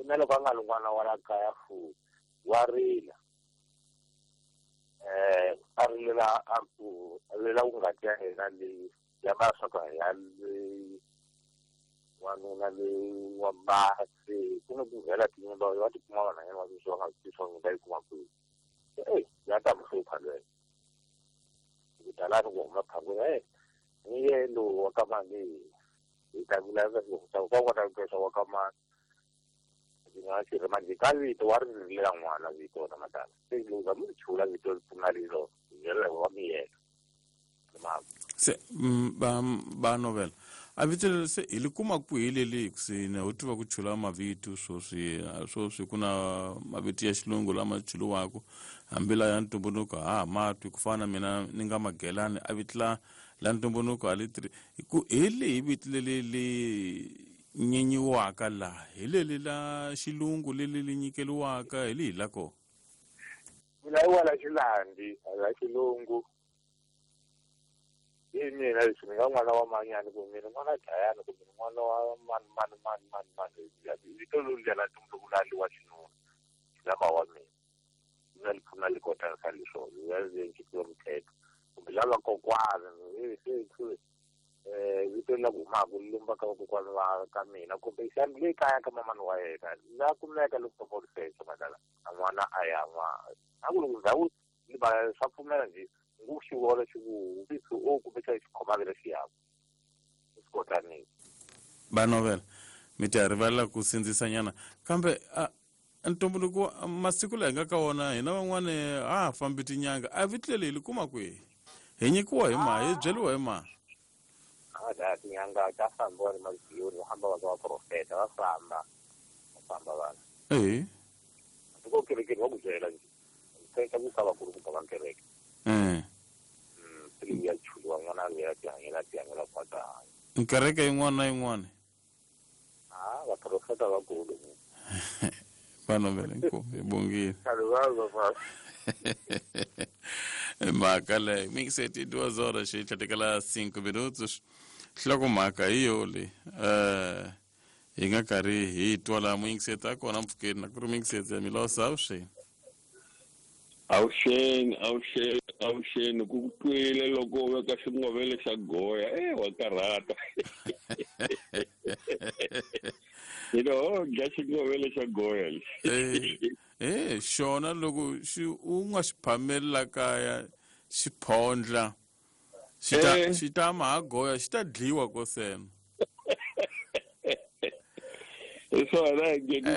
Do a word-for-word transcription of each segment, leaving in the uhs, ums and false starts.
Na loko a nga ri n'wana wa la kaya futhi wa rila eh a rilela a ku a rilela ku ngati ya yena leyi ya maswaku ya leyi wanuna leyi wa basi ku ni ku vhela tinyimba va tikuma vanhwanyana va sweswi va nga swi tivi va yi kuma kwihi. Eyi ya ta mi hlupha lweyo kudalani ku huma phangweni e ni ye lowu wa ka mani hi ta vulavula ku ka kota ku twa wa ka mani ndzi nga xi manje ka vito wa ri rilela n'wana vito na madala se loko za mi chula vito ri pfuna lilo hi wa miyela se ba ba novela a vito leri se hi li kuma kwihi leli kusini ho tiva ku chula mavito swoswi swoswi ku na mavito ya xilungu lama chuliwaka hambi la ya ntumbuluko ha ha matwi ku fana na mina ni nga Magelani a vito la la ntumbuluko a li tirhi ku hi lihi vito leli li nyenyiwaka laha hi leli la xilungu leli li nyikeliwaka hi lihi la kona mina i wa la xilandi la xilungu hi mina leswi ni nga n'wana wa manyani kumbe mina n'wana dlayani kumbe n'wana wa mani mani mani mani mani vito loluya la ntumbuluko la li wa xinuna lama wa mina na li pfuna li kota ka leswo ya nyikiwa muthetho kumbe lava kokwana se eh vito la ku humaka li lumba ka vakokwana va ka mina kumbe xana le kaya ka mamani wa yena la kumeka loko soko madala a n'wana a ya n'wana a ku loko ndhawu li ba swa pfumela nje ngu xi vona xi ku vito o kumbe xa xi khomaka lexi yaku swi kotanile va novela mi ta rivalela ku sindzisanyana kambe a ntumbuluko masiku laha hi nga ka wona hina van'wani a ha fambi tinyanga a vito leri hi li kuma kwihi hi nyikiwa hi ma hi byeriwa hi ma a da tinyanga ta fambiwa ni maziyoni va hamba va ka vaprofeta va famba va famba vanhu ehe tiko kerekeni va ku byela nje teka ku ka vakulukumba va kereke eh se ya chuliwa n'wana loyi a tihanyela tihanyela kwa ta hanya kereke yin'wana na yin'wana a vaprofeta vakulu va novela inkomu hi bongile mhaka leyo mingiseti duas horas e tlhatekela cinco minutos nhlokomhaka hi yo leyi um hi nga karhi hi twa laha muyingiseti a kona mpfhukeni na ku ri muyingiseti ya milosa avuxeni avuxeni avuxeni avuxeni ku twile loko u veka xingovele xa goya e wa karhata hino dya xingovele xa goya lexi e xona loko xi u nga xi phameli la kaya xi phondla xi ta xi ta ma ha goya xi ta dliwa kosena hi swona hi ngeni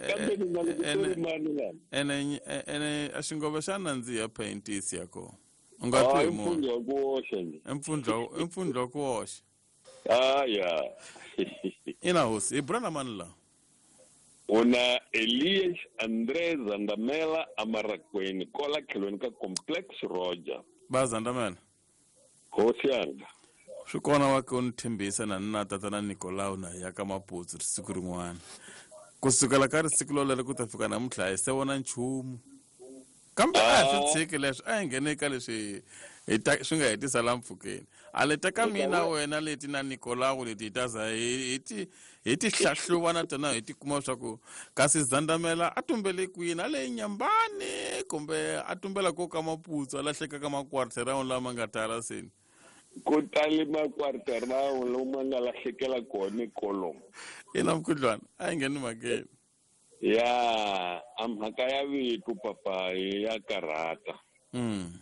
kambe ni nga loko ku ri mani lana ene ene a xingove xa nandziha paintisi ya kona u nga twi munhu mpfundla ku oxa nje mpfundla mpfundla ku oxa ah ya ina hosi hi bula na mani la una Elias André Zandamela Amarakweni kola tlhelweni ka Complex Roger ba Zandamela hosi yanga swi kona wa ke u ni tshembisa na ni na tatana Nicolau na ya ka Maputsu siku rin'wana kusukela ka risiku lolero ku ta fika namuntlha hi se vona nchumu kambe a hi swi tshiki leswi a hi nghene ka leswi hi ta swi nga hetisa la mpfhukeni a leta ka mina wena leti na Nicolau leti hi ta za hi ti hi ti hlahluva na tona hi ti kuma leswaku kasi Zandamela a tumbele kwini a le Nyambani kumbe a tumbela ko ka Maputsu a lahleka ka makwarterround lama nga tala seni ku tali makwarterround lomu nga lahlekela kona kolomo ina mukhuhlwana a yi ngheni mhakeni ya a mhaka ya vito papa ya karhata mm.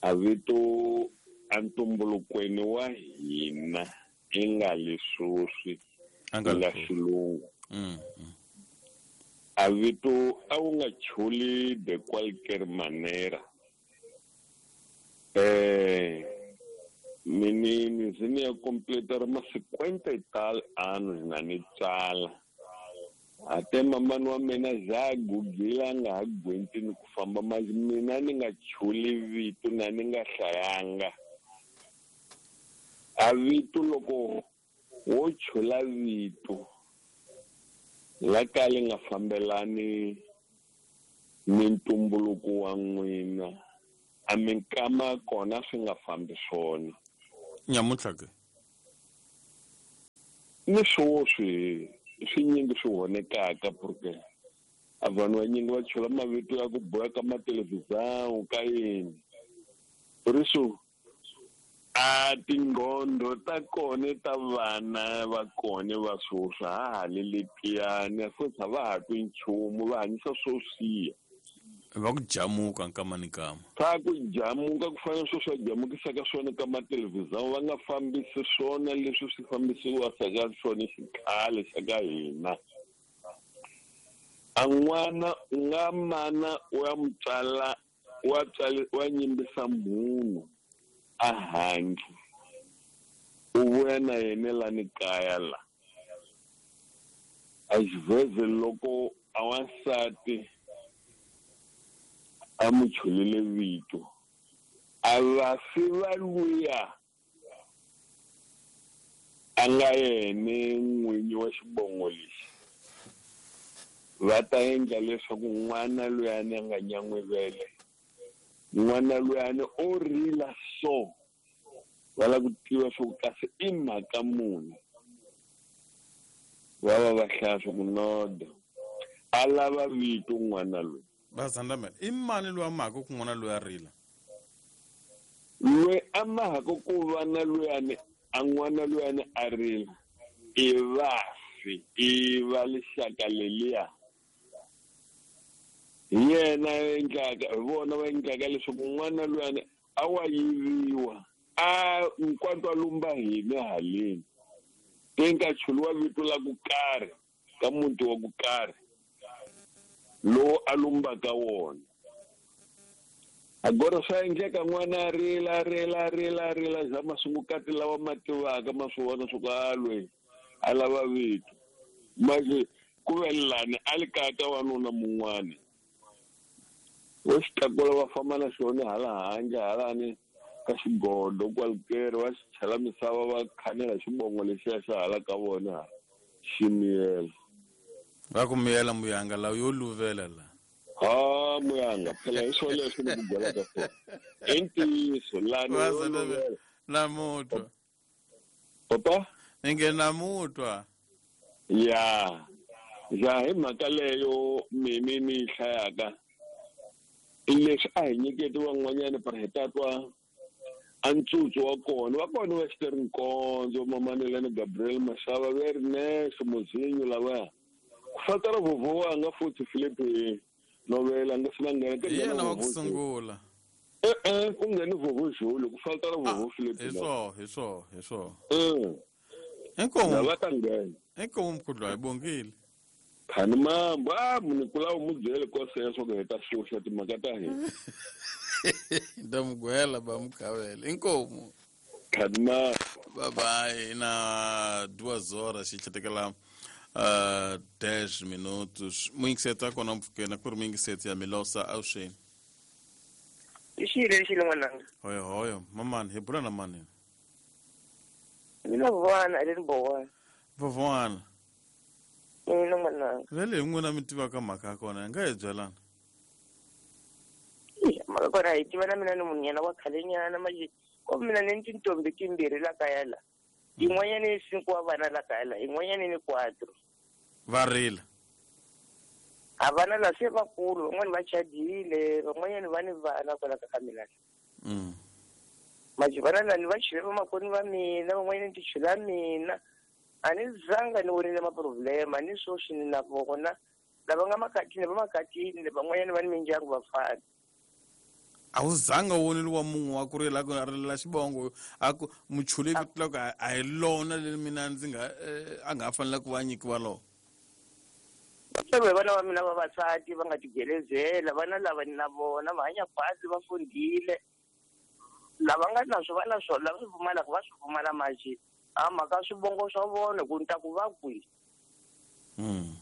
a vito a ntumbulukweni wa hina i nga leswoswi nga xilungu mm. a vito a wu nga chuli de qualquer manera eh mini ni ni ya completar ma cinquenta e tal anos na ni tsala ate mamani wa mina za gugile a nga ha gwenti ni ku famba mas mina ni nga chuli vito na ni nga hlayanga a vito loko wo chula vito la ka li nga fambelani ni ntumbuluko wa n'wina a minkama kona swi nga fambi swona nyamuntlha ke ni swoswi swinyingi swi honekaka porque a vanhu vanyingi va chula mavito ya ku boha ka mathelevhizão ka yini por isso a tingqondo ta kona ta vana va kona va swoswi ha ha le letiyani futhi a va ha twi nchumu va hanyisa swo siya va ku jamuka nkama ni nkama swa ku jamuka ku fana swo swa jamukisaka swona ka mathelevhizão va nga fambisi swona leswi swi fambisiwaka ka swona xikhale xa ka hina a n'wana u nga mana u ya mu tswala wa tswala wa nyimbisa munhu a handle u vuya na yena lani kaya la a xivheze loko a wansati a mu chulile vito a vafi va luya a nga yene n'winyi wa xibongo lexi va ta endla leswaku n'wana luyani a nga nyan'wivele n'wana luyani o rila so va lava ku tiva swa ku kasi i mhaka muni va va va hlaya swa ku noda a lava vito n'wana loyi va zandamela i mani loyi a mahaka ku n'wana loyi a rila loyi a mahaka ku va na luyani a n'wana luyani a rila i vafi i va lixaka leliya hi yena endlaka hi vona va endlaka leswaku n'wana luyani a wa yiviwa a nkwatwa lumba hina haleni te nga chuliwa vito la ku karhi ka muti wa ku karhi lowu a lumbaka wona agora swa endleka n'wana a rila a rila a rila a rila za masungukati lawa ma tivaka ma swi vona swa ku a lweyi a lava vito manje ku ve lani a li kaya ka wanuna mun'wani wo xi tlakula va famba na xona hala handle halani ka xigodo kwalukere va xi chela misava va khanela xibongo lexiya xa hala ka vona xi miyela va ku miyela muyanga lawa yo luvela la ha muyanga phela hi swona leswi ni ku byelaka swona i ntiyiso lani yo luvela namutwa papa ni nge namutwa ya ja hi mhaka leyo mimi ni yi hlayaka i leswi a hi nyiketi van'wanyana par hi ta twa a ntsutsu wa kona wa kona wa Xitere Nkondzo Mamanelani Gabriel Mashava ve ri nexe Mozinyo lavaya ku fatara vhovho wanga futhi Philip Novela nga swi na nghena hi yena wa ku sungula e-e ku ngheni vhovho Julu ku fatara vhovho Philip hi swoho hi swoho hi swoho e inkomu va ta nghena inkomu mkhudlwa hi bongile khani mambo a munhu kulawo mu byele koseya swa ku hi ta xuxa timhaka ta hina nda mugwela ba mukhavela inkomu khani mambo bye bye na duas horas xi uh, dez minutos muyingiseti kona mpfukeni ku ri muyingiseti ya Milosa avuxeni i xile lexi n'wananga hoyo hoyo mamani hi bula na mani mina vona a le ni bowana vovwana mina n'wananga vele hi n'wina mi tivaka mhaka ya kona hi nga hi byelana mhaka kona hi tiva na mina ni munhu wa khalenyana manje ko mina ni tintombi timbirhi la kaya la yin'wanyana i cinco wa vana la kaya la yin'wanyana ni quatro va rila a vana la se vakulu van'wani va chadile van'wanyana va ni vana kwala ka mina mm. manje vana lani va chule vamakweni va mina van'wanyana ni ti chula mina a ni zanga ni vonile maproblema ni swoswi ni na vona lava nga makatini va makatini van'wanyana va ni mindyangu vafana a wu zanga u vonile wa munhu wa ku rila ku rilela xibongo a ku muchule vito la ku a hi lona leri mina ndzi nga a nga ha fanela ku va nyikiwa lona va vana va mina vavasati va nga tigelezela vana lava ni na vona va hanya khwatsi va fundile lava nga na swo va na swona lava swi pfumalaka va swi pfumala manje a mhaka swivongo swa vona ku ni ta ku va kwihi mm.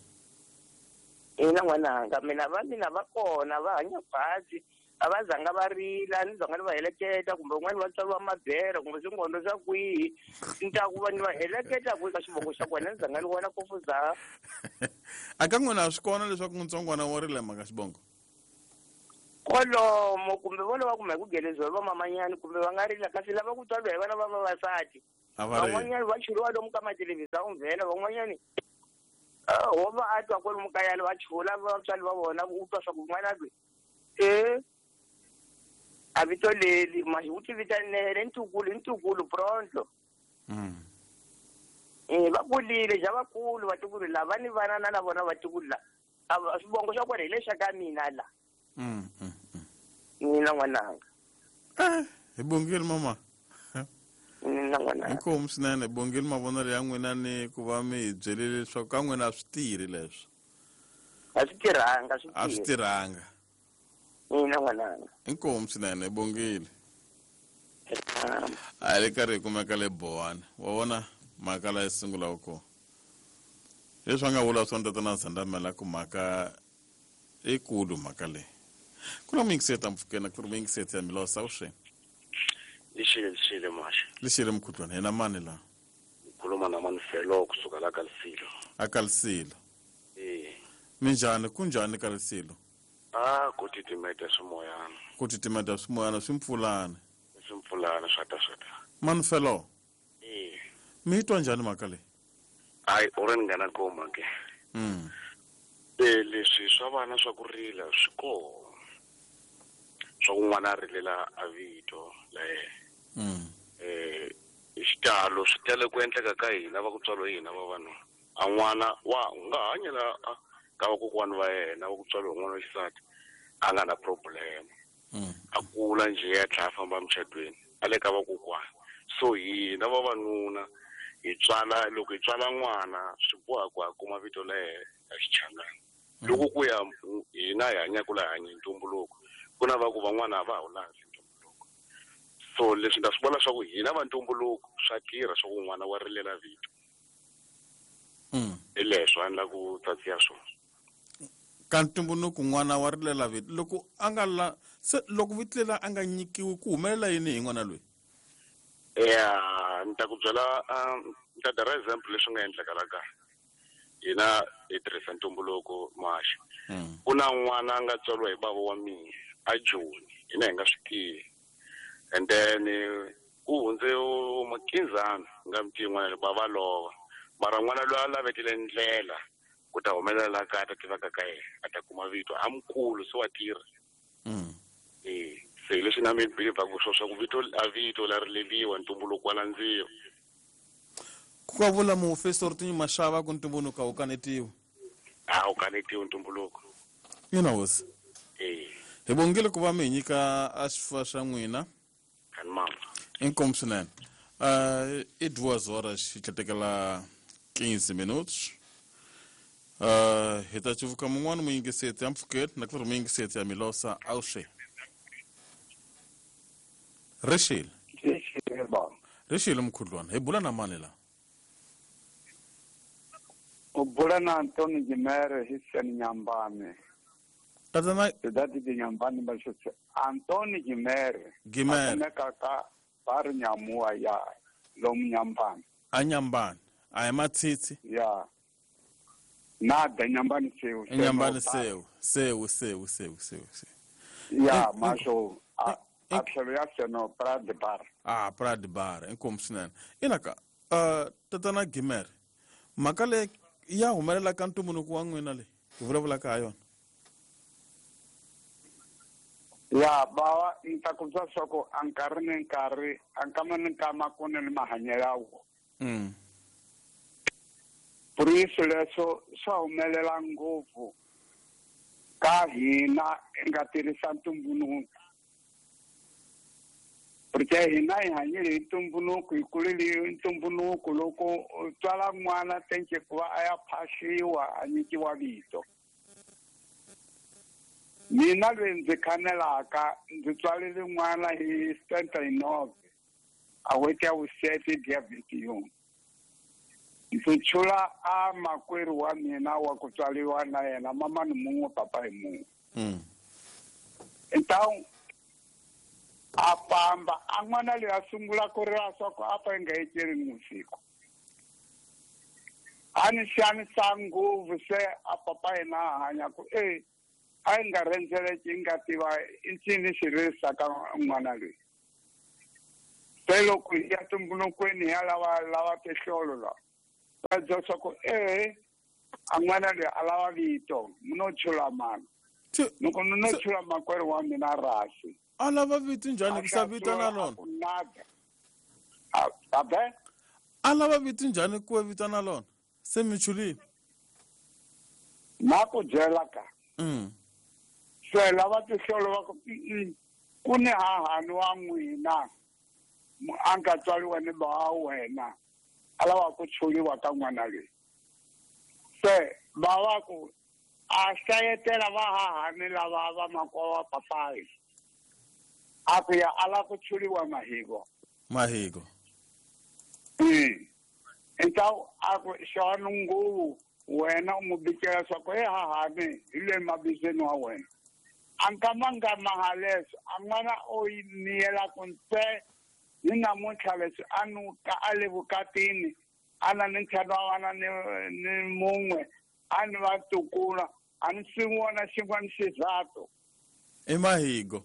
ina n'wananga mina va mina va kona va hanya khwatsi a va zanga va rila ni zanga ni va heleketa kumbe un'wana va tswariwa mabere kumbe swingondo swa kwihi ni ta ku va ni va heleketa kwihi ka xivongo xa kona ni zanga ni vona kofuza a ka n'wina a swi kona leswaku ntsongwana wa rila mhaka xibongo kwalomo kumbe vo lava kumbe ku geleziwa va mamanyani kumbe va nga rila kasi lava ku tswariwa hi vana va vavasati a va rili van'wanyani va churiwa lomu ka mathelevhizão vhela van'wanyani Wo va a twa kwalomu kaya va chula vatswari va vona u twa swa ku n'wana loyi e a vito leri ma u ti vitanele ntukulu ntukulu pronto. Eh va kulile ja vakulu vatukulu lava ni vana na na vona vatukulu la a swivongo swa kona hi lexa ka mina la. Mina n'wananga. Eh hi bongile mama. Mina n'wananga. Inkomu swinene bongile mavonelo ya n'wina ni ku va mi hi byelile leswaku ka n'wina a swi tirhi leswi. A swi tirhanga swi A swi tirhanga. Mina n'wananga. Inkomu swinene bongile. A le karhi hi kumeka le Bowana. Wa vona mhaka la yi sungulaka kona. Leswi a nga vula swona tatana Zandamela ku mhaka i kulu mhaka leyi. Ku na muyingiseti mpfukeni ku ri muyingiseti ya Milosa awuxeni. Lixile lixile maxa. Lixile mukhuhlwana hina mani la? Ngikhuluma na Manfelo kusuka la Kalisilo. A Kalisilo. Eh. Minjhani kunjhani Kalisilo? Ah ku titimeta swimoyana. Ku titimeta swimoyana swi mpfulana. Swi mpfulana swa ta swa ta. Manfelo. Eh. Mi twa njhani mhaka leyi? Hayi u ri nghena koma ke. Mm. Eh leswi swa vana swa ku rila swi kona. Swa ku n'wana a rilela a vito la yena. Mm. Eh xitalo swi tele ku endleka ka hina va ku tswariwa hina va vanhu. A n'wana wa nga hanyela ka vakokwani va yena va ku tswariwa n'wana wa xisati a nga na problem. Mm. A kula njhe ya tlhela a famba emucatweni a le ka vakokwani. So hina vavanuna hi tswala loko hi tswala n'wana swi boha ku a kuma vito la yena ya xichangani. Loko ku ya hina hi hanyaka laha hanya hi ntumbuluko ku na va ku van'wana a va ha wu landzi ntumbuluko. So leswi nga swi vona swa ku hina va ntumbuluko swa tirha swa ku n'wana wa rilela vito. Mm. Hi leswo a ni ku tsatsiya swona. Ka ntumbuluko n'wana wa rilela vito loko a nga la se loko vito leri a nga nyikiwi ku humelela yini hi n'wana loyi? Ya ni ta ku byela ni ta dara example leswi nga endleka la kaya. Hina hi tirhisa ntumbuluko maxa. Ku na n'wana a nga tswariwa hi bava wa mina a Joni hina hi nga swi tivi. And then ku hundze makinzana nga mi tivi n'wana loyi bava lova. Mara n'wana loyi a lavetile ndlela ku ta humelela la kaya a ta tivaka ka yena a ta kuma vito a mukulu se wa tirha. Mm. Eh se leswi na mi believe ku swo swa ku vito a vito la rileliwa ntumbuluko wa landziwa. Ku ka vula muofisiri Tinyi Mashava ku ntumbuluko a wu kanetiwi. A wu kanetiwi ntumbuluko. Ina hosi. Eh. Hi bongile ku va mi hi nyika a xifuva xa n'wina. Kani mama. Inkomu swinene. Uh, i duas horas hi tlhetekela quinze minutos. Uh, hi ta cuvuka mun'wana muyingiseti ya mpfukeni na ku ri muyingiseti ya Milosa awuxe. Rixile. Rixile baba. Rixile mukhuhlwana hi bula na mani la? U bula na Antoni Gimere hi Seni Nyambane. Tatana Cidade de Nyambane mas Antoni Gimere. Gimere. Akumeka ka bar Nyamua ya lomu Nyambane. A Nyambane. A hi Matsitsi. Ya. Nada Nyambane seu. Nyambane seu. Seu seu seu seu seu. Ya masho a a tlhelo ya seno Prade Bar. Ah Prade Bar inkomu swinene. Ina ka uh tatana Gimere mhaka leyi ya humelela ka ntumbuluko wa n'wina leyi hi vulavulaka ha yona. Ya bawa ni ta ku byela swa ku a nkarhi ni nkarhi a nkama ni nkama ku ni mahanyelo ya wona. Mm. Por isso leswo swa humelela ngopfu ka hina hi nga tirhisa ntumbuluko. Porque hina hi hanyile hi ntumbuluko hi kulile hi ntumbuluko loko u tswala n'wana tenke ku va a ya phahliwa a nyikiwa vito. Mina loyi ndzi khanelaka ndzi tswalile n'wana hi setenta e nove a n'hweti ya vusete dia vinte e um. Ndzi chula a makwerhu wa mina wa ku tswariwa na yena mamani mun'we papa hi mun'we. Mm. Então a famba a n'wana loyi a sungula ku rila swa ku a pa yi nga etleli ni vusiku. A ni xanisa ngopfu se a papa yena a hanya ku e a yi nga rhendzeleki yi nga tiva i ncini xi ririsaka n'wana loyi. Se loko hi ya tumbulukweni hi ya lava lava tihlolo la va byela swa ku e A n'wana loyi a lava vito no chula mani loko no chula makwerhu wa mina rasi a lava vito njhani ku sa vito na lona abe a lava vito njhani ku vito na lona se mi chulile na ku byela ka mm se lava tihlolo va ku ku ni hahani wa n'wina a nga tswariwa ni ba wena a lava ku chuliwa ka n'wana loyi se va va ku a hlayetela va hahani lava va makwa wa papayi a ku ya a lava ku chuliwa mahiko mahiko mm então a ku xona nguvu wena u n'wi bikela swa ku he hahani hi le mabizweni wa wena a nkama mahaleswo a n'wana o yi miyela ku ntse ni namuntlha leswi a nuka a le vukatini a na ni ntlhanu wa vana ni ni mun'we a ni va tukula a ni swi vona xin'wana xizathu i mahigo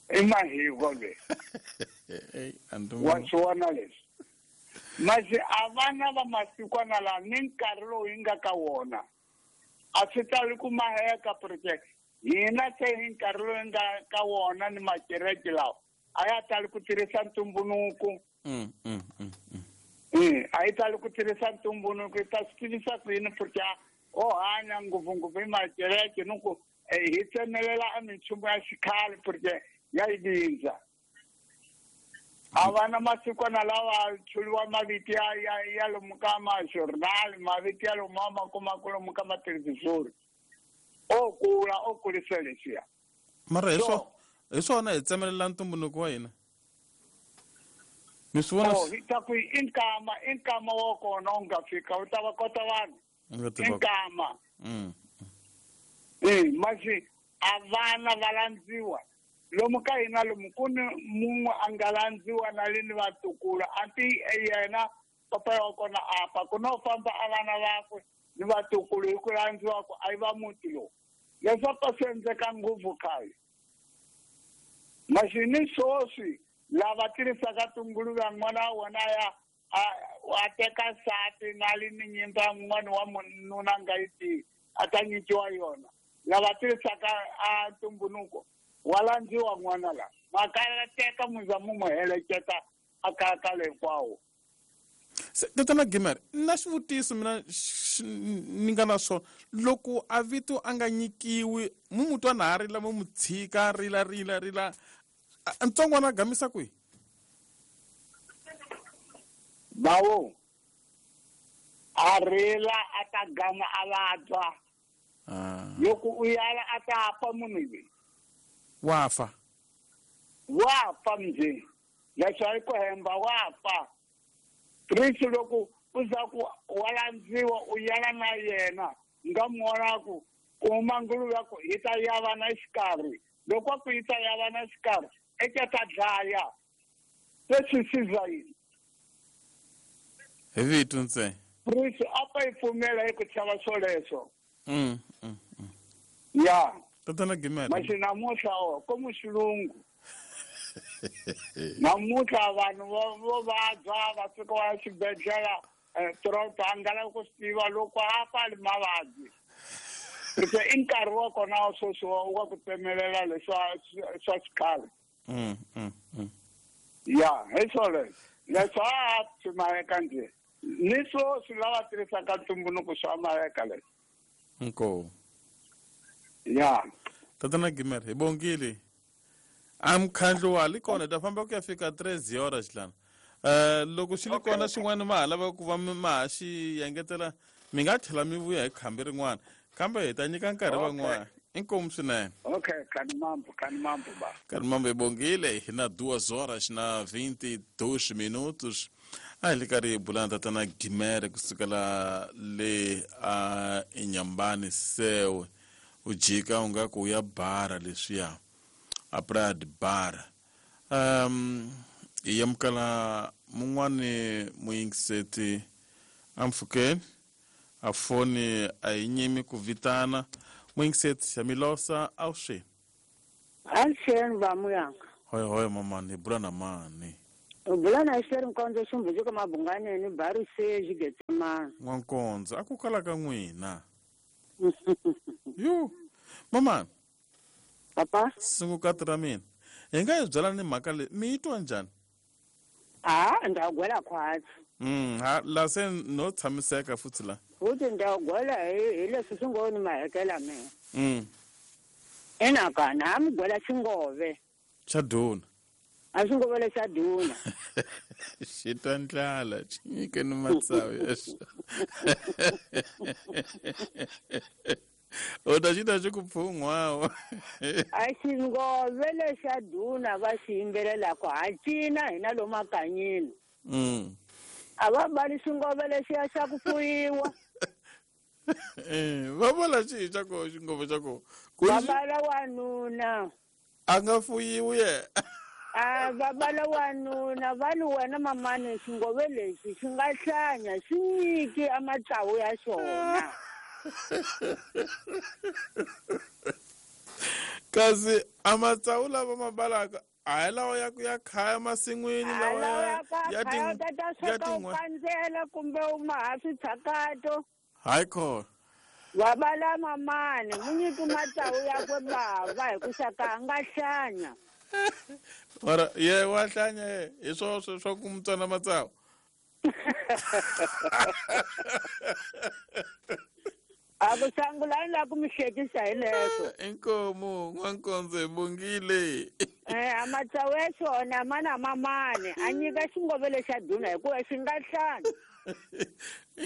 i mahigo le wa swi vona leswi masi a vana va masikwana laha ni nkarhi lowu hi nga ka wona a swi tali ku maheka porque hina se hi nkarhi lowu hi nga ka wona ni makereke lawa a ya tali ku tirhisa ntumbunuku mm mm mm mm a yi tali ku tirhisa ntumbunuku yi ta swi tivisa ku yini porque o hanya ngopfungopfu hi makereke ni ku hi tsemelela a minchumu ya xikhale porque ya yi vindza a vana masikwana lawa chuliwa mavito ya ya ya lomu ka ma-journal mavito ya lomu ma kumaka lomu ka mathelevhizori o kula o kulisa leswiya mara hi swo hi swona hi tsemelela ntumbunuko wa hina mi swi vona hi ta ku i nkama i nkama wa kona u nga fika u ta va kota vanhu i nkama mm masi a vana va landziwa lomu ka hina lomu ku ni mun'we a nga landziwa na le ni vatukulu a ti yena papa wa kona apa ku no famba a vana vakwe ni vatukulu hi ku landziwa ku a yi va muti lowu leswaku a swi endleka ngopfu khale masi ni swoswi lava tirhisaka tinguluve n'wana wa wona ya a teka nsati na li ni nyimba n'wana wa mununa a nga yi tivi a ta nyikiwa yona lava tirhisaka a ntumbunuko wa landziwa n'wana la makaya teka muza mu mu heleketa a kaya ka le hinkwawo se tatana Gimere na xivutiso mina ni nga na swona loko a vito a nga nyikiwi mu mu twa na ha rila mu mu tshika rila rila rila ntsongwana a gamisa kwihi bawo a rila a ta gama a vabya loko u yala a ta fa munhu loyi wa fa wa fa mnje leswi a yi ku hemba wa fa risi loko u za ku wa landziwa u yala na yena nga mu vona ku ku huma nguluve ya ku yi ta yavana exikarhi loko a ku yi ta yavana exikarhi eka ta dlaya se swi siza yini hi vito ntsena risi a pa yi pfumela hi ku chava swoleswo mm mm ya tatana Gimere masi namuntlha o komu xilungu namuntlha vanhu vo vabya va fika va ya xibedhlele toroto a nga lavi ku swi tiva loko a pfali mavabyi se i nkarhi wa kona wa sweswi wa ku tsemelela leswa swa xikhale mm mm mm ya hi swoleswo leswi a swi maheka njhe ni swoswi lava tirhisaka ntumbunuko swa maheka leswi inkomu ya tatana Gimere hi bongile a mkhandlu wa li kona hi ta famba ku ya fika treze horas xilana um loko xi li kona xin'wana ma ha lava ku va ma ha xi engetela mi nga tlhela mi vuya hi khambi rin'wana kambe hi ta nyika nkarhi van'wana inkomu swinene okay kanimambo kanimambo ba kanimambo hi bongile hi na duas horas na vinte e dois minutos a hi le karhi hi bula na tatana Gimere kusukela le a Inhambane Sewe u jika u nga ku u ya bara leswiya a praia de bara um hi amukela mun'wani muyingiseti ampfhukeni a foni a yi nyimi ku vitana muyingiseti ya milosa awuxeni Avuxeni va muyanga hoy hoy mamani hi bula na mani Bulana xeri nkonzo xumbuzuka mabunganeni barise xigetsemana. N'wankonzo a ku kala ka n'wina. Yo mama. Papa. Sungukati ra mina. Hi nga yi byela ni mhaka leyi mi yi twa njhani? A ndza gwela khwatsi. Mm ha la se no tshamiseka futhi la. Futhi ndza gwela hi hi leswi swi ngo ni mahekela mina. Mm. Ina ka na mi gwela xingove. Xa duna. A xi ngove lexa duna. Xi twa ndlala xi nyike ni matsavu ya xona. O ta xi ta xi ku pfun'wawa. A xingove lexa duna va xi yimbelelaka ha cina hina lomu makanyini. Mm. A va bali xingove lexiya xa ku fuyiwa. Eh, va vula xihi xa koho xingove xa koho? Va bala wanuna. A nga fuyiwi ye. A va bala wanuna va li wena mamani xingove lexi xi nga hlanya xi nyiki a matsavu ya xona. Kasi a matsavu lava ma balaka a hi lawa ya ku ya khaya masin'wini lawa ya ya ti ya tin'we kumbe u ma ha switshakato. Hayi khona. Va bala mamani mu nyiki matsavu yakwe bava hi ku xaka a nga hlanya. Mara ye wa hlanya ye hi swo swa ku mu tsona matsavu. A ku sangulani la ku mi hlekisa hi leswo. Inkomu n'wankonzo hi bongile. Eh a matsavu ya xona ma na mamani a nyika xingove lexa duna hikuva xi nga hlanya.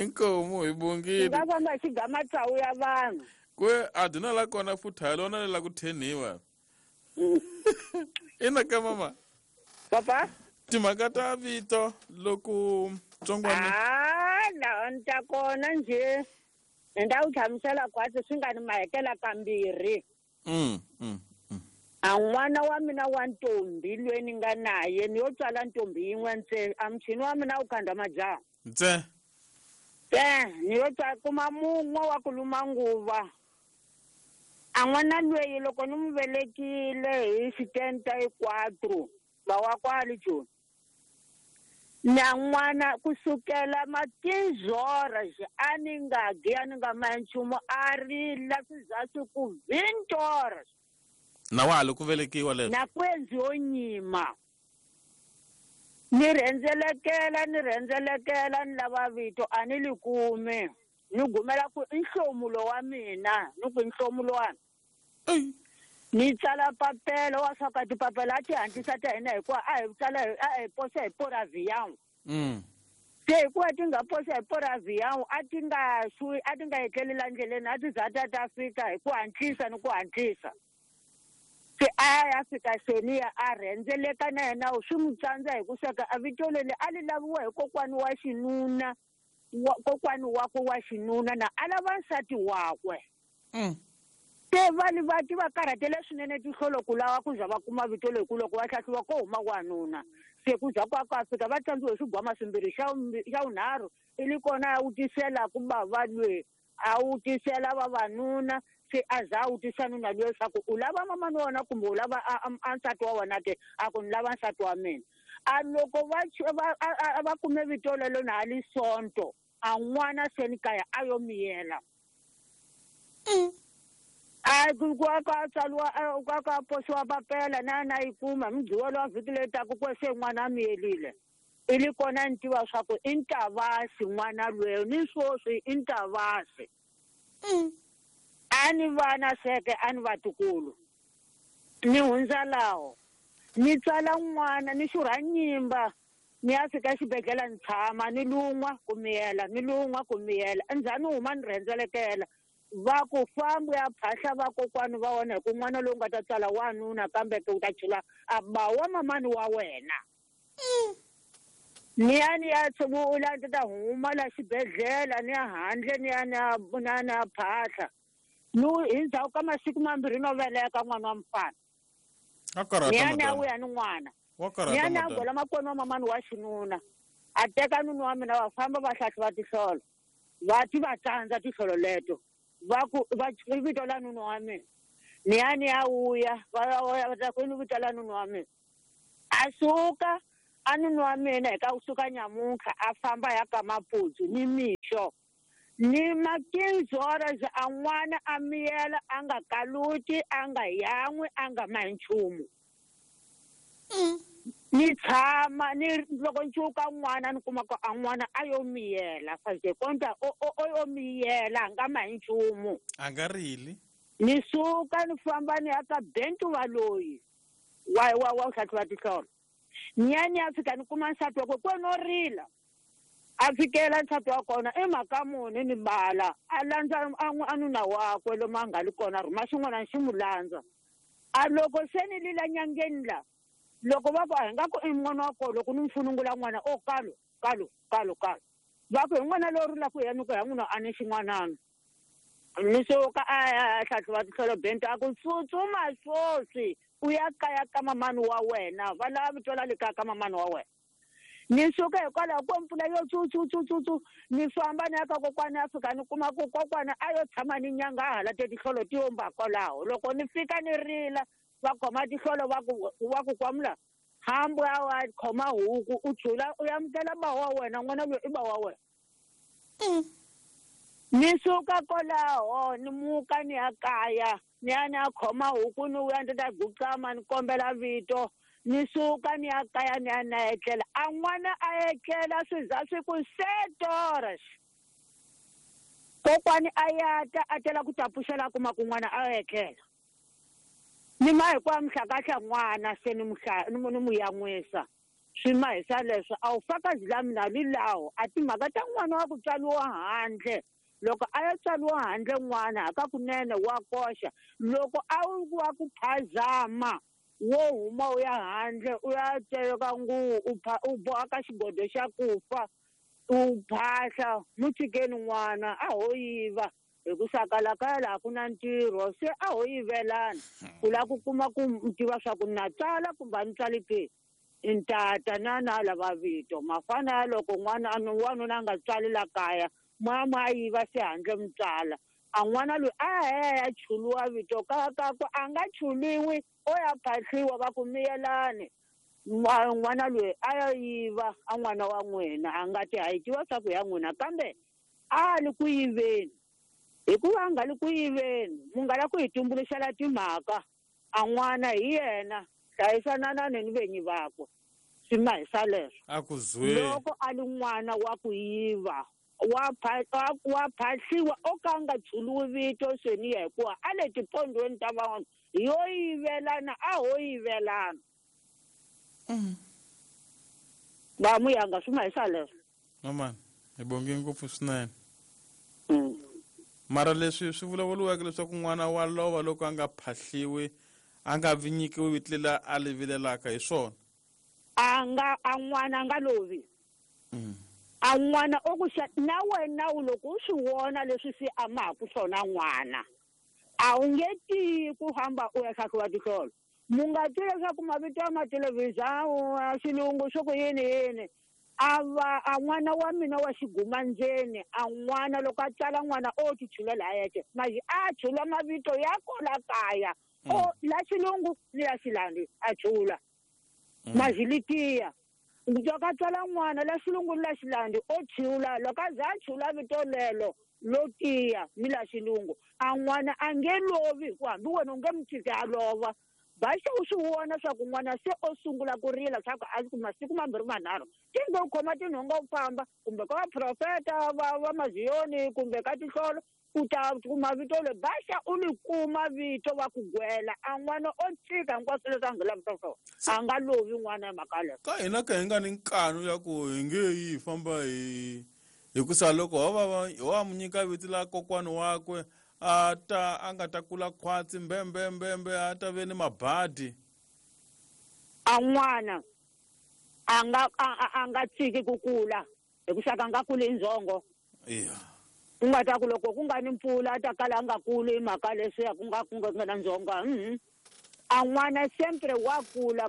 Inkomu hi bongile. Xi nga famba xi ga matsavu ya vanhu. Kwe a duna la kona futhi ha lona la ku theniwa. Ina ka mama. Papa. Timhaka ta vito loko tsongwana. Ah la nta kona nje. Ndza wu hlamusela khwatsi swi nga ni mahekela kambirhi. Mm mm. A n'wana wa mina wa ntombi loyi ni nga naye ni yo tswala ntombi yin'we ntsena a muchini wa mina wu khandza majaha. Ntsena. Te ni yo tswala kuma mun'we wa ku luma nguva. A n'wana loyi loko ni n'wi velekile hi xitenta hikwatro va wa kwale Joni. Na n'wana kusukela matinzora a ni nga gi a ni nga ma nchumu a rila swi za swi ku vintora. Na wa ha li ku velekiwa leswo? Na ku endliwe nyima. Ni rhendzelekela ni rhendzelekela ni lava vito a ni li kumi. Ni gumela ku i nhlomulo wa mina ni ku i nhlomulo wa. Ni tsala papela wa swa ka tipapela a ti hatlisa ta hina hikuva a hi tsala a hi posa hi poraviyawu. Mm. Se hikuva ti nga posa hi poraviyawu a ti nga xwi a ti nga etleli la ndleleni a ti za ta ta fika hi ku hatlisa ni ku hatlisa. Se a ya fika seniya a rhendzeleka na yena swi n'wi tsandza hi ku sweka a vito leri a li laviwa hi kokwani wa xinuna wa kokwani wakwe wa xinuna na a lava nsati wakwe. Mm. Se va li va ti va karhatele swinene tihlolo ku lava ku za va kuma vito leri ku loko va hlahluva ko huma wanuna. Se ku za kwa ka fika va tsandziwe hi swigwama swimbirhi xa xa vunharhu i li kona a wutisela ku bava lwe a wutisela vavanuna se a za a wutisa nuna lwe leswaku u lava mamani wa wena kumbe u lava a nsati wa wena ke a ku ni lava nsati wa mina. A loko va va va kume vito lelo na li sonto a n'wana se ni kaya a yo miyela. Mm. A ku ku ka tsaliwa ka ka posiwa papela na na yi kuma mugqivela wa vhiki leyi taka ku se n'wana a miyelile. I li kona ni tiva swa ku i Ntavasi n'wana lweyo ni swoswi i Ntavasi. Mm. A ni vana seke a ni vatukulu. Ni hundza laho. Ni tsala n'wana ni xurha nyimba ni ya fika xibedhlele ni tshama ni lun'wa ku miyela ni lun'wa ku miyela endzhaku ni huma ni rhendzelekela. Va ku fambi ya phahla vakokwani va wena hi ku n'wana lowu nga ta tsala wanuna kambe ke u ta chela a ba wa mamani wa wena. Ni ya ni ya tshungula ni ta huma la xibedhlele ni ya handle ni ya ni ya ni ya phahla. No hi ndzhaku ka masiku mambirhi no veleka n'wana wa mufana. Ni ya ni ya vuya ni n'wana. Ni ya ni ya gola makwenu wa mamani wa xinuna. A teka nuna wa mina va famba va hlahluva tihlolo. Va ti va tsandza tihlolo leto. Va ku va vito la nuna wa mina. Ni ya ni ya vuya va va ta ku vito la nuna wa mina. A suka A nuna wa mina hi ka kusuka nyamuntlha a famba ya ka Maputsu ni mixo. Ni makinzora a n'wana a miyela a nga kaluti a nga yan'wi a nga mahi nchumu. Ni tshama ni loko ncuka n'wana ni kuma ku a n'wana a yo miyela faze konta o o yo miyela a nga mahi nchumu. A nga rili. Ni suka ni famba ni ya ka Bentu wa loyi wa wa wa hlahluva tihlolo. Ni ya ni ya fika ni kuma nsati wakwe kwe no rila. A fikela nsati wa kona i mhaka muni ni bala a landza a nuna wakwe lomu a nga li kona rhuma xin'wana xi mu landza. A loko se ni lila nyangeni la loko va ku a hi nga ku i n'wana wa kona loko ni mu funungula n'wana o kalo kalo kalo kalo va ku hi n'wana lowu rilaka hi ya ni ku ya n'wina a ni xin'wanana. Ni suka a ya hlahluva tihlolo Bento a ku tsutsuma swoswi u ya kaya ka mamani wa wena va lava vito la le kaya ka mamani wa wena. Ni suka hikwalaho ko mpfula yo tsu tsu tsu tsu ni famba ni ya ka kokwana ya fika ni kuma ku kokwana a yo tshama ni nyanga a hala te tihlolo ti yomba kwalaho. Loko ni fika ni rila va khoma tihlolo va ku va ku kwamula hambi a wa khoma huku u chula u amukela ba wa wena n'wana loyi i ba wa wena. Ni suka kwalaho ni muka ni ya kaya ni ya ni ya khoma huku ni vuya ni ta guqama ni kombela vito. Ni suka ni ya kaya ni ya na etlela a n'wana a etlela swi za swi ku setoras. Kokwani a ya ta a tela ku ta pfuxela kuma ku n'wana a etlela. Ni ma hinkwayo mhlakahla n'wana se ni muhla ni mu yan'wisa. Swi mahisa leswo a wu fakazi la mina li lawo a timhaka ta n'wana wa ku tswariwa handle. Loko a ya tswariwa handle n'wana hakakunene wa koxa loko a wu wa ku phazama wo huma u ya handle u ya teka nguvu u u boha ka xigodo xa ku fa u phahla mu tshikeni n'wana a ho yiva hi ku saka kaya laha ku na ntirho se a ho yivelana ku lava ku kuma ku tiva swa ku na tsala kumbe a ni tsali ke. Ntata na na lava vito mafana ya loko n'wana wanuna a nga tswali la kaya mama a yiva se handle mutswala a n'wana loyi a ya chuluwa vito ka ka ku a nga chuliwi o ya phahliwa va ku miyelani n'wana loyi a ya yiva a n'wana wa n'wina a nga ti hayi tiva swa ku ya n'wina kambe a li ku yiveni hikuva a nga li ku yiveni mu nga la ku hi tumbuluxela timhaka a n'wana hi yena hlayisananani ni venyi vakwe swi mahisa leswo. A ku zwe loko a li n'wana wa ku yiva wa wa phahliwa o ka nga chuluwi vito seni ya hikuva a le tipondweni ta van'wana yo yivelana a ho yivelana. Va muyanga swi mahisa leswo. Mamani hi bonge ngopfu swinene. Mara leswi swi vulavuriweke leswaku n'wana wa lova loko a nga phahliwi a nga vi nyikiwi vito leri a li vilelaka hi swona. A nga a n'wana a nga lovi. A n'wana o ku xa na wena u loko u swi vona leswi swi amaku swona n'wana a wu nge tiyi ku famba u ya hlahluva tihlolo. Mu nga twi leswaku mavito ya mathelevhizha xilungu swo ku yini yini a va a n'wana wa mina wa xigumandzeni a n'wana loko a tsala n'wana o ti chulela a yexe maji a chula mavito ya kola kaya o la xilungu ni la xilandi a chula maji litiya. Loko a tswala n'wana la xilungu ni la xilandi o chula loko a za a chula vito lelo lo tiya ni la xilungu a n'wana a nge lovi hikuva hambi wena u nge mu tshiki a lova. Baxa u swi vona swa ku n'wana se o sungula ku rila swa ku a ku masiku mambirhi manharhu ti nge u khoma tinhonga u famba kumbe ka vaprofeta va va maziyoni kumbe ka tihlolo u ta kuma vito leri baxa u li kuma vito va ku gwela a n'wana o tshika hinkwaswo leswi a nga lavisa swona a nga lovi n'wana hi mhaka leyo. Ka hina ka hi nga ni nkanu ya ku hi nge yi hi famba hi hikusa loko ho va ho va mu nyika vito la kokwani wakwe a ta a nga ta kula khwatsi mbembe mbembe a ta ve ni mabadi. A n'wana a nga a nga tshiki ku kula hikusa ka nga kuli ndzhongo. Iya. Ku nga ta ku loko ku nga ni mpfula a ta kala a nga kuli hi mhaka leswiya ku nga ku nga na ndzhongo. A n'wana sempre wa kula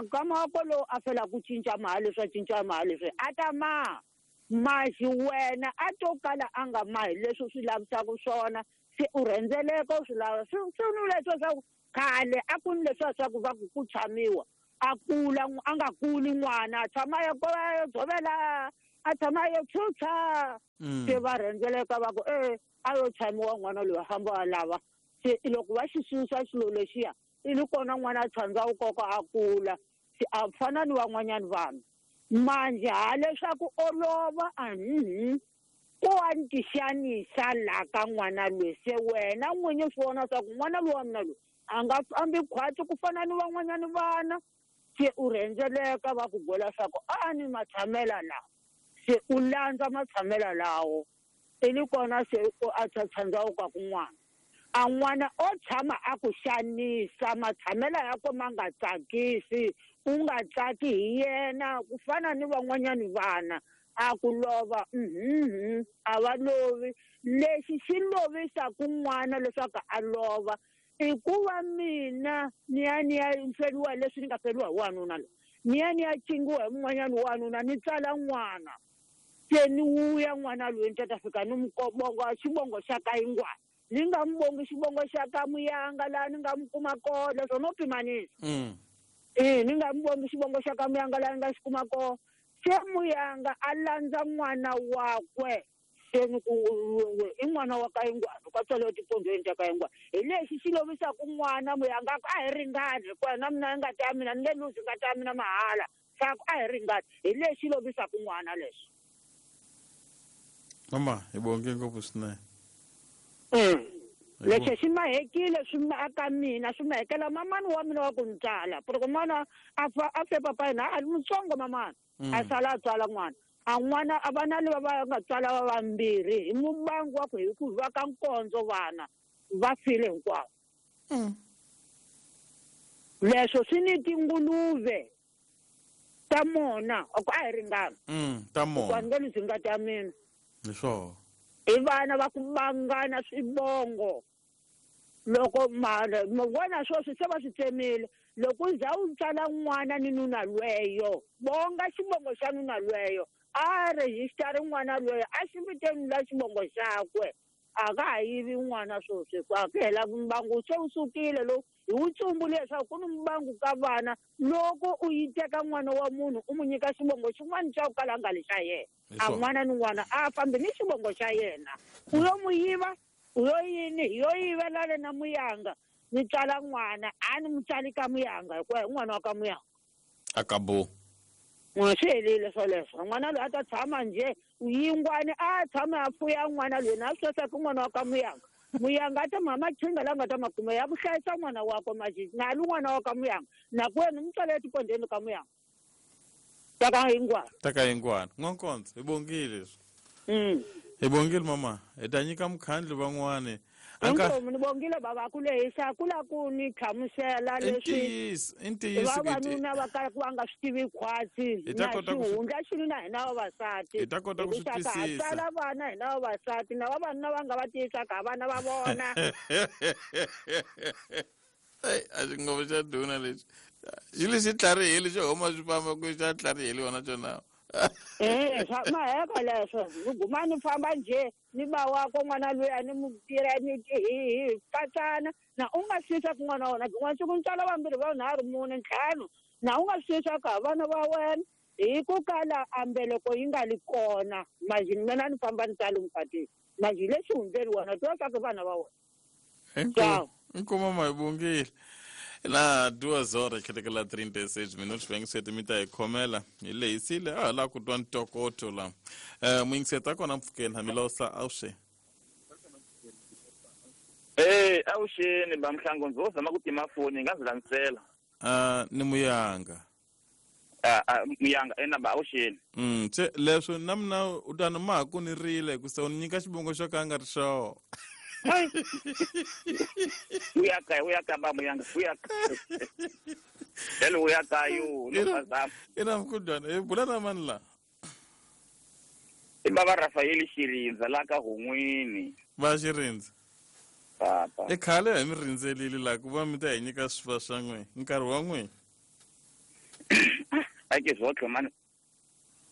nkama wa kolowo a fela ku cinca maha leswi a cinca maha leswi a ta maha mahi wena a to kala a nga mahi leswi u swi lavisaka swona se u rhendzeleka u swi lava swi swi ni leswiya swa ku khale a ku ni leswiya swa ku va ku ku tshamiwa A kula a nga kuli n'wana a tshama a ya dzovela a tshama a yo tshutshwa se va rhendzeleka va ku e a yo tshamiwa n'wana loyi a famba a lava se loko va xi susa xilo lexiya i li kona n'wana a tshandza wu koka a kula se a fana ni van'wanyani vanhu manje ha leswaku olova a mhm ko wa ni tixanisa laha ka n'wana loyi se wena n'winyi swi vona swa ku n'wana loyi wa mina loyi a nga fambi khwatsi ku fana ni van'wanyani vana se u rhendzeleka va ku byela swa ku a ni matshamela lawa se u landza matshamela lawo i li kona se a tshandza wu ka kun'wana a n'wana o tshama a ku xanisa matshamela ya ko ma nga tsakisi u nga tsaki hi yena ku fana ni van'wanyani vana a ku lova mhm a va lovi lexi xi lovisaku n'wana leswaku a lova i ku va mina ni ya ni ya feriwa leswi ni nga feriwa hi wanuna loyi ni ya ni ya cingiwa hi mun'wanyani wanuna ni tsala n'wana se ni wuya n'wana loyi ni ta ta fika ni n'wi bonga xivongo xa ka yingwana ni nga n'wi bongi xivongo xa ka Muyanga laha ni nga n'wi kuma kona leswo no pimanisa e ni nga n'wi bongi xivongo xa ka Muyanga laha ni nga xi kuma kona se Muyanga a landza n'wana wakwe se ni ku i n'wana wa ka Yingwana ka tswariwa etipondweni ta ka Yingwana hi lexi xi lovisaku n'wana Muyanga a ku a hi ringani hikuva na mina ngati ya mina ni nge luzi ngati ya mina mahala sa ku a hi ringani hi lexi lovisaku n'wana leswi. Mama hi bonge ngopfu swinene. Lexi xi mahekile swi aka mina swi mahekela mamani wa mina wa ku ni tsala loko n'wana a fa a fe papa yena a ri mutsongo mamani a sala a tswala n'wana a n'wana a vana lava va nga tswala va vambirhi hi mubangu wa ku hi ku va ka nkondzo vana va file hinkwavo. Leswo swi ni tinguluve ta mona a ku a hi ringana ta mona ku nge luzi ngati ya mina hi swona i vana va ku bangana swivongo loko mara vona sweswi se va swi tsemile loko u za u tsala n'wana ni nuna lweyo bonga xivongo xa nuna lweyo a rejistara n'wana lweyo a xi viteni la xivongo xakwe a ka ha yivi n'wana sweswi ku a ku hela mbangu se wu sukile lowu hi wu tsumbule leswaku ku ni mbangu ka vana loko u yi teka n'wana wa munhu u n'wi nyika xivongo xin'wana xa ku kala a nga li xa yena a n'wana ni n'wana a fambi ni xivongo xa yena u yo n'wi yiva u yo yini hi yo yivelana na Muyanga ni tswala n'wana a ni n'wi tsali ka Muyanga hikuva hi n'wana wa ka Muyanga a ka bo n'wana swi helile swoleswo n'wana loyi a ta tshama njhe yingwani a tshama a fuya n'wana loyi na swi sweswa n'wana wa ka Muyanga Muyanga a ta ma machinga la nga ta ma kuma ya ku hlayisa n'wana wakwe maji na lu n'wana wa ka Muyanga na ku wena mi tswala etipondweni ka Muyanga ta ka Yingwana ta ka Yingwana n'wankondzo hi bongile leswi mm hi bongile mama hi ta nyika mukhandlu van'wani inkomu ni bongile baba ku lehisa ku la ku ni hlamusela leswi i ntiyiso vavanuna va kala ku va nga swi tivi khwatsi na xihundla xi na hina vavasati hi ta kota ku swi twisisa tsala vana hina vavasati na vavanuna va nga va tiyisaka vana va vona ei a xingovo xa duna lexi xi lexi tlharihile xo huma swi famba ku xa tlharihile wona xona eh swa maheka leswo ni guma ni famba njhe ni ba wakwe n'wana loyi a ni mu tirha ni hi hi katsana na u nga swi ku n'wana wa wena n'wana siku ni tswala vambirhi vanharhu mune ntlhanu na u nga swi ka vana va wena hi ku kala a mbeleko yi nga li kona majini mina ni famba ni tsala mukatini maji lexi hundzeni wena tiva swa ku vana va wena. Inkomu inkomu mama hi bongile na duas horas khetekela trinta e seis minutos vuyingiseti mi ta hi khomela hi lehisile a ha lava ku twa ntokoto la um muyingiseti a kona mpfhukeni hamilosa awuxe e awuxeni ba Mhlango ndzo zama ku tima foni nga zilanisela uh, ni Muyanga uh, Muyanga ena ba awuxeni mm se leswo na mina u ta ni ma ha ku ni rile ku se u ni nyika xivongo xo ka a nga ri xona uyaka uyaka ba Muyanga uyaka hello uyaka yo no bazam ina mkudwana e bula na mani la i baba Rafael Xirindza la ka Hun'wini va Xirindza papa i khale hi mi rindzelile la ku va mi ta hi nyika swifa swa n'we nkarhi wa n'we a ke zwotlhe mani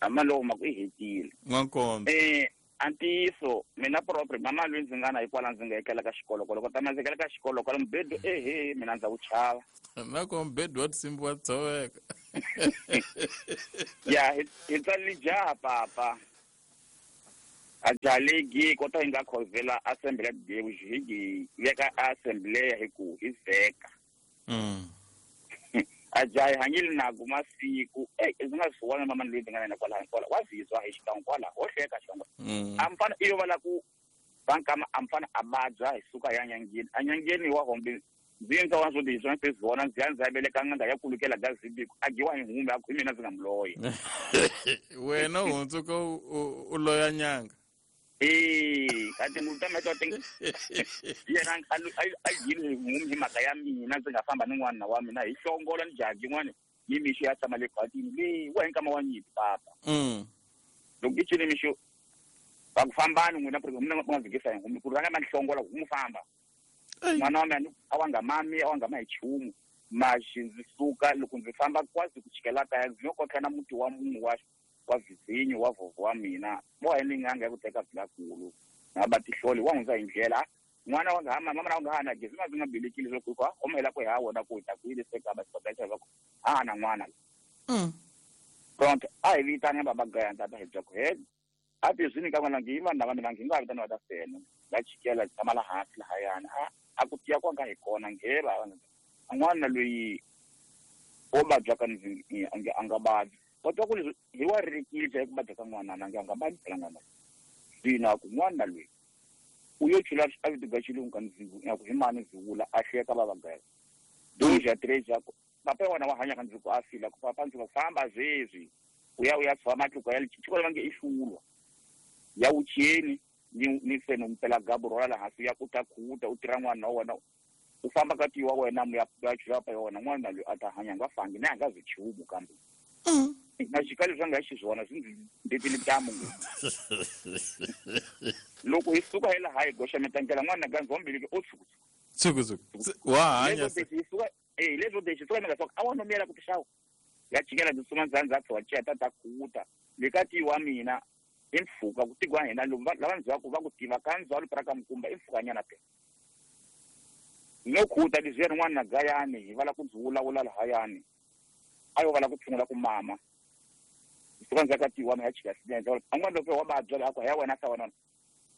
amalowo ma ku i hetile n'wankondzo eh Antiyiso mina propre mama loyi ndzi nga na hikwalaho ndzi nga ekela ka xikolo loko ta ndzi ekela ka xikolo kwala mubedo ehe mina ndza wu chava na ko mubedo wa tinsimbi wa tshoveka ya hi tsali jaha papa a jalegi kota hi nga khovela assembly ya Deus hi gi veka assembly hi ku hi veka mm a jahi hanyile na ku masiku eh ndzi nga swi vona mama loyi ndzi nga na kwala kwala wa zizwa hi xikan'we kwala ho hleka xikan'we a mfana iyo va la ku bankama a mfana a vabya hi suka ya nyangeni a nyangeni wa hombe ndzi ndza wa swo ti swa se vona ndzi ya ndzi ya veleka n'anga ya kulukela gazibiku a giwa hi humbe a ku mina ndzi nga muloya wena u hundzuka u loya nyanga eh kati mutama to ting yena a yile ngumi hi mhaka ya mina ndzi nga famba ni n'wana wa mina hi hlongola ni jaji n'wana ni mixo ya tshama le khwatini le wa hinkama wa nyimpi papa mm loko i cini mixo va ku fambani n'wina ku ri mina nga zikisa hi ngumi ku rhanga ma hlongola ku mu famba n'wana wa mina a wa nga mami a wa nga ma hi chumu maxi ndzi suka loko ndzi famba kwazi ku chikela kaya ndzi yo kotlha na muti wa munhu wa wa vizinyo wa vhovho wa mina mo hi ni nganga ya ku teka vilakulu na ba tihloli wa hundza hi ndlela n'wana wa nga ha mama wa nga ha na gezi ma ndzi nga belekile swa ku ku omela ku ha wona ku ta ku yile se ka ba xibedhlele va ku a na n'wana mm pronto a hi vitana baba gaya tata hi bya ku he a ti swi ka n'wana ngi vanhu lava ni vangi nga vitana va ta fena va chikela tshama la hansi lahayana a a ku tiya kwa nga hi kona nghe va n'wana loyi o vabya ka ndzi a nga vabyi kodwa ku leswi hi wa ririkile ku vabya ka n'wana na nga nga vabyi phela n'wana zwino ku n'wana loyi u yo chula a vito ga xilungu ka ndzi ya ku hi mani ndzi vula a hleka va vagaya doja três ku papa wa wena wa hanya ka ndzi ku a fila ku papa ndzi ku famba zwezwi u ya u ya tshova matluka ya xikolo va nge i hlulwa ya wucheni ni ni feno mpela gabu rola la hansi ya ku ta khuta u tirha n'wana wa wena u famba ka tiwa wena mu ya ya chula pa yona n'wana loyi a ta hanya nga fangi na nga zwi chumu kambe na xikalo swa nga xiswona swi ndzi ndetile ntamu loko hi suka hi laha hi goxa mitangela n'wana ka ndzombiliki o tshuku tshuku tshuku wa hanya suka eh leswo de xisuka mi nga swa a wa nomela ku tixawa ya chikela ndzi suma ndza ndza tshwa cheta ta khuta le ka tiwa mina i mpfhuka ku tigwa hina lava ndzhaku va ku tiva ka ndzwalo pra ka mukumba i mpfhukanyana phela no khuta leswiya rin'wana na gayani hi vala ku ndzi vulavula lahayani a yo vala ku tshungula ku mama suka ndzi ka tiwa ya chika sinenze an'wana loko wa vabya la ku ya wena sa wena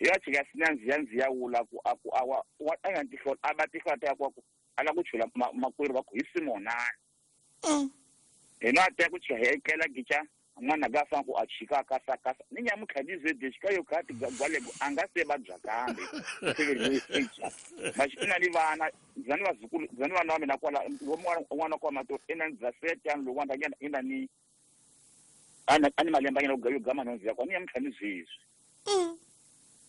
ya chika sinenze ya ndzi ya wula ku a ku a wa a nga tihlola a va tihlola ta ku ku ala ku chula makwerhu va ku hi Simona hina ta ku chika hekela gicha n'wana ga fa ku a chika ka sa ka ni nyamutlha ni zwe chika yo kati gwale a nga se vabya kambe maxi ina ni vana ndzani vazukulu ndzani vana wa mina kwala n'wana kwa mato ina ndza sete ani loko wanda ina ni ana ani malemba nyana yo gama nhonzi yakwa ni nyamutlha ni zwezwi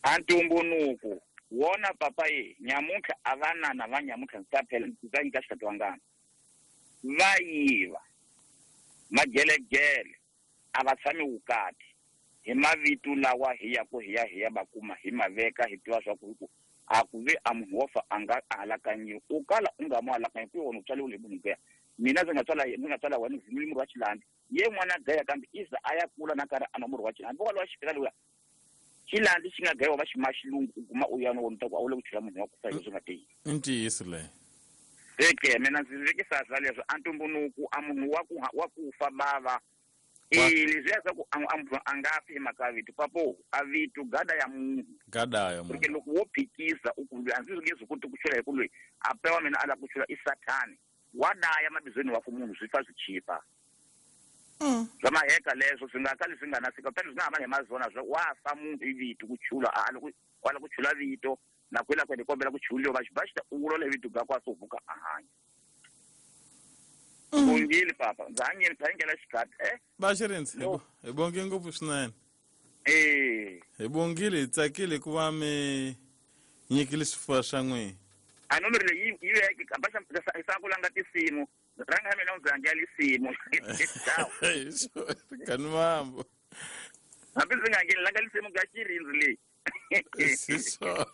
a ntumbunuku wona papa ye nyamutlha a vanana va nyamutlha ndzi ta phela ndzi ta nyika xikati wangana va yiva magelegele a va tshami vukati hi mavito lawa hi ya ku hi ya hi ya va kuma hi maveka hi tiva swa ku hi ku a ku ve a munhu wo fa a nga alakanyiwi u kala u nga mu alakanyi ku wona u tswaliwile hi munhu gaya mina ndzi nga tswala ndzi nga tswala wena ndzi murhi wa xilandi ye n'wana gaya kambe iza a ya kula na karhi a nwa murhi wa xilandi vo walowa xifika lowuya xilandi xi nga gayiwa va xi ma xilungu u guma u ya no wona ta ku a wu le ku chela munhu wa ku fa hi leswi nga tiyi i ntiyiso leyo eke mina ndzi vekisa swa leswo a ntumbunuku a munhu wa ku wa ku fa bava eh leswiya swa ku a munhu a nga fi hi mhaka ya vito papo a vito gada ya munhu gada ya munhu porque loko wo phikisa u ku loyi a ndzi nge swi koti ku chula hi ku loyi a pewa mina a lava ku chula i sathani wa daya mabizweni wa ku munhu swi fa swi chipa swa maheka leswo swi nga kali swi nga na fika kutani swi nga hambana hi mazona swa wa fa munhu hi vito ku chula a loko wa lava ku chula vito na kwela kwene kombela ku chuliwa va xi va xi ta u vulola hi vito ga kwa so vuka a hanya bongile papa ndza hanyeni phangela xikati eh va xirindzi hi bonge ngopfu swinene eh hi bongile hi tsakile ku va mi nyikile swifuwo swa n'wina a nomero leyi yi veke kamba xa ku langa tinsimu ranga mina ndzi hangela lisimu kani mambo hambi ndzi nga hangeli langa lisimu ga xirindzi leyi siswona.